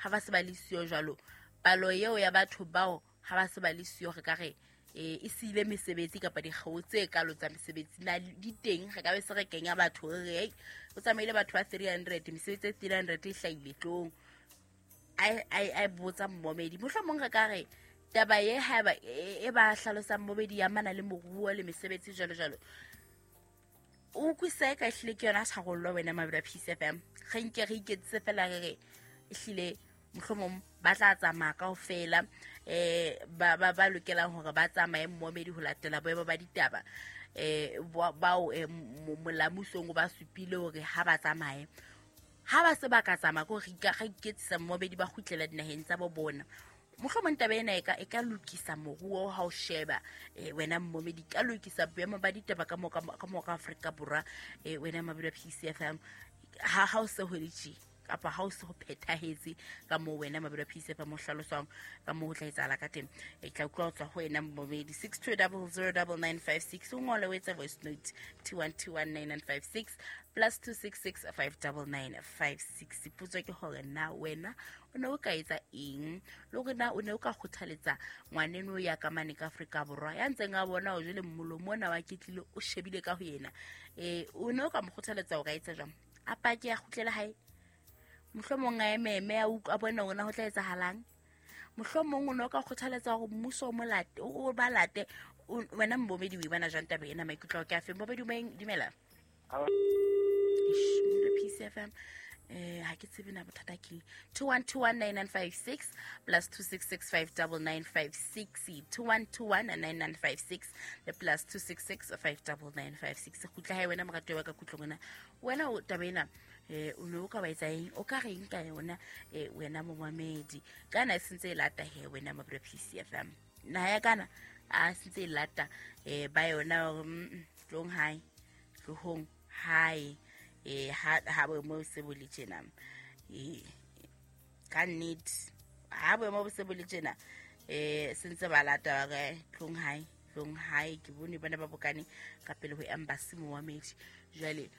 Ha ba se ba le siyo jwalo, palo eo ya batho bao ha ba se ba le siyo, re ka re e siile mesebetsi kapa dikgeo tse kalo tsa mesebetsi na di teng? Re ka be se re kenya batho re re, "Ei, o tsamaile batho ba 300, mesebetsi e 300 e hlahile tlong." A botsa mmomedi, mohlomong re ka re taba ye haeba e ba hlalosang mmomedi ya mana le moruo le mesebetsi jwalo jwalo, o utlwisisa e ka ehlile ke yona tharollo? Wena mabelo a Peace FM, re nke re iketsise fela, re re ehlile mohlomong ba tla tsamaya kaofela, ba lokelang hore ba tsamaye mmomedi ho latela boemo ba ditaba, bao molamusong o ba supile hore ha ba tsamaye. Ha ba se ba ka tsamaya, ko re iketsisa mmomedi, ba kgutlela dinaheng tsa bo bona, mohlomong taba ena e ka lokisa moruo. Ha o sheba, wena mmomedi, ka lokisa boemo ba ditaba ka mo ka Afrika Borwa. Wena mabelo a PCFM, ha o se ho le tje kapa ha o se ho phethahetse ka moo wena mabelo a PCFM o hlaloswang ka moo ho tla etsahala ka teng, e tla utlwa ho tswa ho wena mmomedi. 62009956, o ngole, o etse voice note, 21219956, +266 59956. Potso ke hore na wena o ne o ka etsa eng, le hore na o ne o ka kgothaletsa ngwaneno ya ka mane ka Afrika Borwa ya ntseng a bona o jele mmolomo ona wa ketlile o shebile ka ho yena, o ne o ka mo kgothaletsa o ka etsa jwang? A pake, a kgutlele hae, mohlomong a ememe, a utlwa, a bone hore na ho tla etsahalang. Mohlomong o ne o ka kgothaletsa hore mmuso o mo late, o ba late. Wena mbomedi, o e bona jwang taba ena? Maikutlo ao ke a feng, mbomedi? Moeng, dumela. Eish, Mmino Peace FM, ha ke tsebe na bothata keng. 21219956, +266 59956, 21219956 le +266 59956. Kgutla hae, wena moratuwa wa ka kutlong, wena wena o taba ena, o ne o ka ba etsa eng? O ka reng ka yona, wena momamedi? Kana e sentse e lata he, wena mabelo PCFM, naha ya kana a sentse e lata, ba yona hore, tlong hae, tlohong hae, ha boemo se bo le tjena, ka nnete ha boemo bo se bo le tjena, sentse ba lata ba re tlong hae, tlong hae. Ke bone bana ba bokane ka pele ho embassy moamedi. Jwale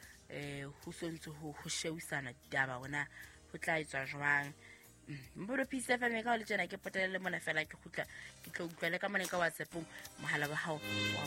ho sontse ho shewisana ditaba hona ho tla etswa jwang. Mbodo Peace FM, ka ho le tjena ke potele le mona fela, ke kgutla ke tlo utlwa le ka mone ka WhatsAppong, mohala wa hao wa.